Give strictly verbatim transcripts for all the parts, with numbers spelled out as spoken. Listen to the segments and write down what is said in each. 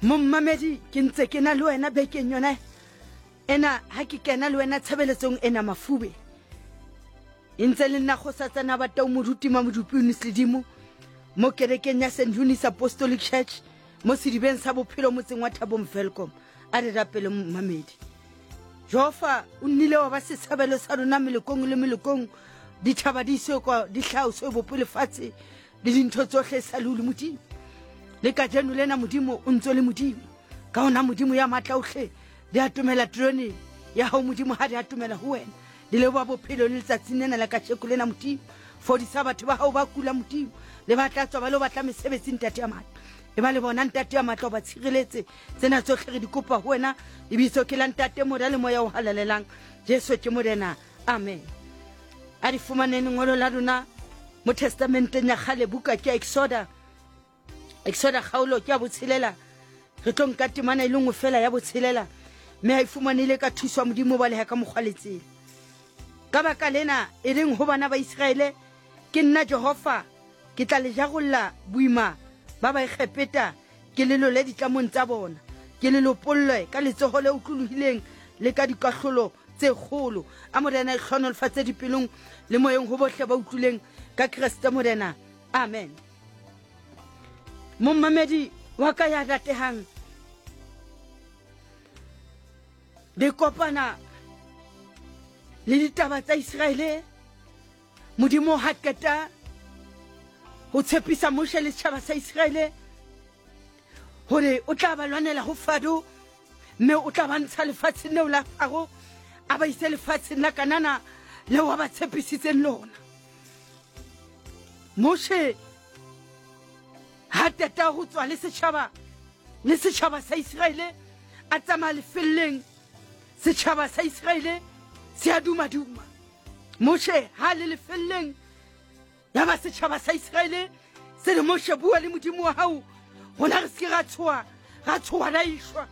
Mommamedi ke ntse ke na le wena bekeng yona ena ha ke kena le wena tshebeletsong ena mafube. E ntse le nna kgosatsana ba tau moruti Mamodupi Eunice Ledimo mo kerekeng ya Saint Eunice Apostolic Church mo sedibeng sa bophelo motseng wa Thabong Welkom. A re rapele momamedi. Jehova o nnile wa ba setshabelo sa rona melokong le melokong, ditjhaba di iswe kwa di hlaoswe bope lefatshe le dintho tsohle sa le o le Modimo. Le kajeno lena Modimo o ntso le Modimo. Ka hona Modimo ya matla ohle di atomela terone ya hao Modimo ha di atomela ho wena. Di leboha bophelo le letsatsing lena la kajeko lena Modimo. Fodisa batho ba hao ba kula Modimo, le ba tla tswa ba lo batla mesebetsi Ntate ya matla. E ba le bona Ntate ya matla o ba tshireletse. Tsena tsohle re di kopa ho wena. Lebitso ke la Ntate, Mora le Moya o Halalelang. Jesu ke Morena. Amen. A di fumaneng lengolo la rona mo testamenteng ya kgale, buka ke ya Exoda. Exoda kgaolo ke ya botshelela. Re tlo nka temana e le nngwe fela ya botshelela, mme ha e fumanehile ka thuso ya Modimo ba leha ka mokgwa le tsela. Ka baka lena e reng ho bana ba Iseraele, ke nna Jehova, ke tla le jarolla boima ba Baegepeta, ke le lole ditlamong tsa bona, ke le lopolle ka letsoho le otlolohileng le ka dikahlolo tse kgolo. A Morena e hlohonolofatse dipelong le moyeng ho bohle ba utlwileng ka Kreste Morena. Amen. Mommamedi wa ka ya ratehang, le kopana le ditaba tsa Iseraele. Modimo ha qeta ho tshepisa Moshe le setjhaba sa Iseraele hore o tla ba lwanela ho Faro, mme o tla ba ntsha lefatsheng leo la Faro, a ba ise lefatsheng la Kanana leo a ba tshepisitseng lona. Moshe ha qeta ho tswa le setjhaba le setjhaba sa Iseraele, a tsamaya lefelleng. Setjhaba sa Iseraele se a duma-duma. Moshe ha le lefelleng, ya ba setjhaba sa Iseraele se re, Moshe, bua le Modimo wa hao, rona re se ke ra tshoha, ra tshoha ra ishwa.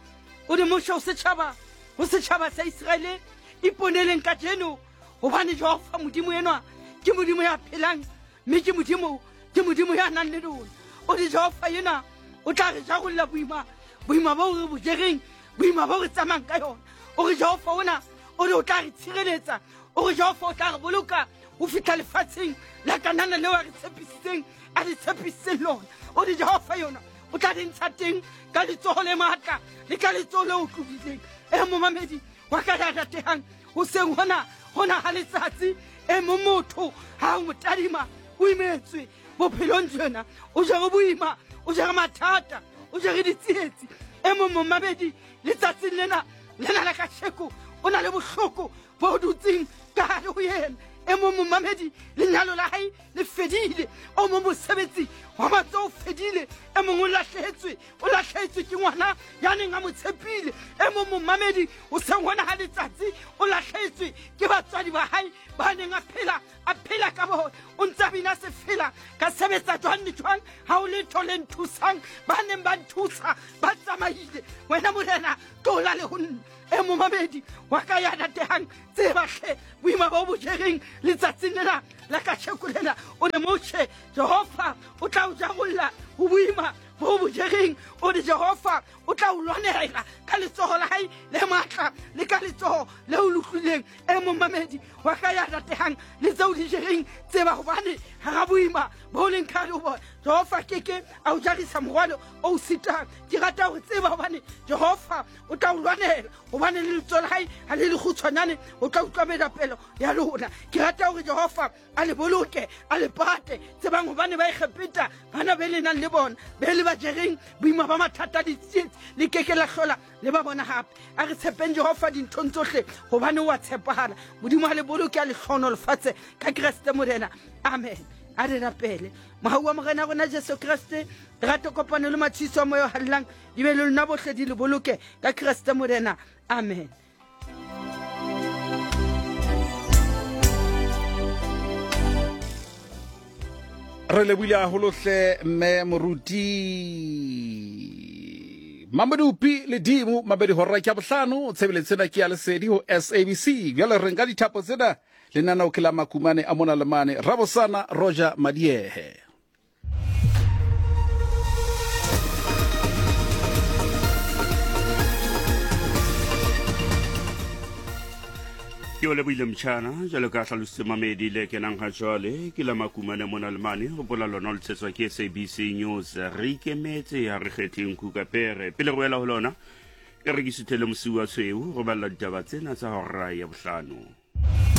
O re Moshe ho setjhaba, ho setjhaba sa Iseraele, iponeleng kajeno, hobane Jehova Modimo enwa ke Modimo ya phelang, mme ke Modimo, ke Modimo ya nang le rona. O re Jehova ena o tla re jarolla boima, boima bo re bo jereng, boima bo re tsamayang ka yona. O re Jehova ona o re o tla re tshireletsa, o re Jehova o tla re boloka ho fihla lefatsheng la Kanana leo a re tshepisitseng, a re tshepisitseng lona. O re Jehova yona o tla re ntsha teng ka letsoho le matla le ka letsoho le otlolohileng. E momamedi wa ka ya ratehang, hoseng hona hona ha letsatsi, e mong motho ha o mo tadima o imetswe bophelong jena, o jere boima, o jere mathata, o jere ditsietsi. E mong momamedi letsatsing lena lena la kasheko o na le bohloko bo dutseng ka hare ho yena. E mong momamedi lenyalo la hae le fedile, o mong mosebetsi wa matsoho o fedile, e mong o lahlehetswe, o lahlehetswe ke ngwana ya neng a mo tshepile. E mong momamedi hoseng hona ha letsatsi o lahlehetswe ke batswadi ba hae ba neng a phela, a phela ka bona. O ntse a bina sefela, ka sebetsa jwang le jwang, ha o letho le nthusang, ba neng ba nthusa ba tsamaile. Wena Morena tlola le ho nna. E momamedi wa ka ya ratehang, tseba hle boima bo bo jereng letsatsing lena la kasheko lena. O re Moshe, Jehova o tla o jarolla ho boima bo bo jereng. O re Jehova o tla o lwanela ka letsoho la hae le matla le ka letsoho le o lotlileng. E momamedi wa ka ya ratehang, le tseo di jereng, tseba hobane hara boima bo leng ka hare ho bona, Jehova keke a o jarisa morwalo o o sitang. Ke rata hore tseba hobane Jehova o tla o lwanela, hobane le letsoho la hae ha le lekgutshwanyane, o tla utlwa merapelo ya lona. Ke rata hore Jehova a le boloke, a le pate. Tsebang hobane ba Egepeta bana be le nang le bona, be le ba jereng boima ba mathata ditsietsi, le keke la hlola le ba bona hape. A re tshepeng Jehova dinthong tsohle, hobane o a tshepahala. Modimo a le boloke, a le hlohonolofatse ka Kreste Morena. Amen. A re rapele. Mohau wa Morena rona Jesu Kreste, lerato, kopano le matshediso a Moya o Halalelang di be le lona bohle, di le boloke ka Kreste Morena. Amen. Re lebohile haholo hle mme moruti Mamodupi Ledimo mabedi hora ke ya bohlano. Tshebeletso ena ke ya Lesedi ho S A B C. Bjale re nka dithapo tsena, lenaneo ke la Makumane a mona le mane. Rabosana Roger Madiehe. Ke o lebohile motjhana jwalo ka hlalositse mamedi le kenang ha jwale ke la makumane mona le mane. Hopola lona le tshetswa ke S A B C News. Re ikemetse, ha re kgetheng kuka pere. Pele re wela ho lona, e re ke suthele mosiu wa tshweu go balla ditaba tsena tsa hora ya bohlano.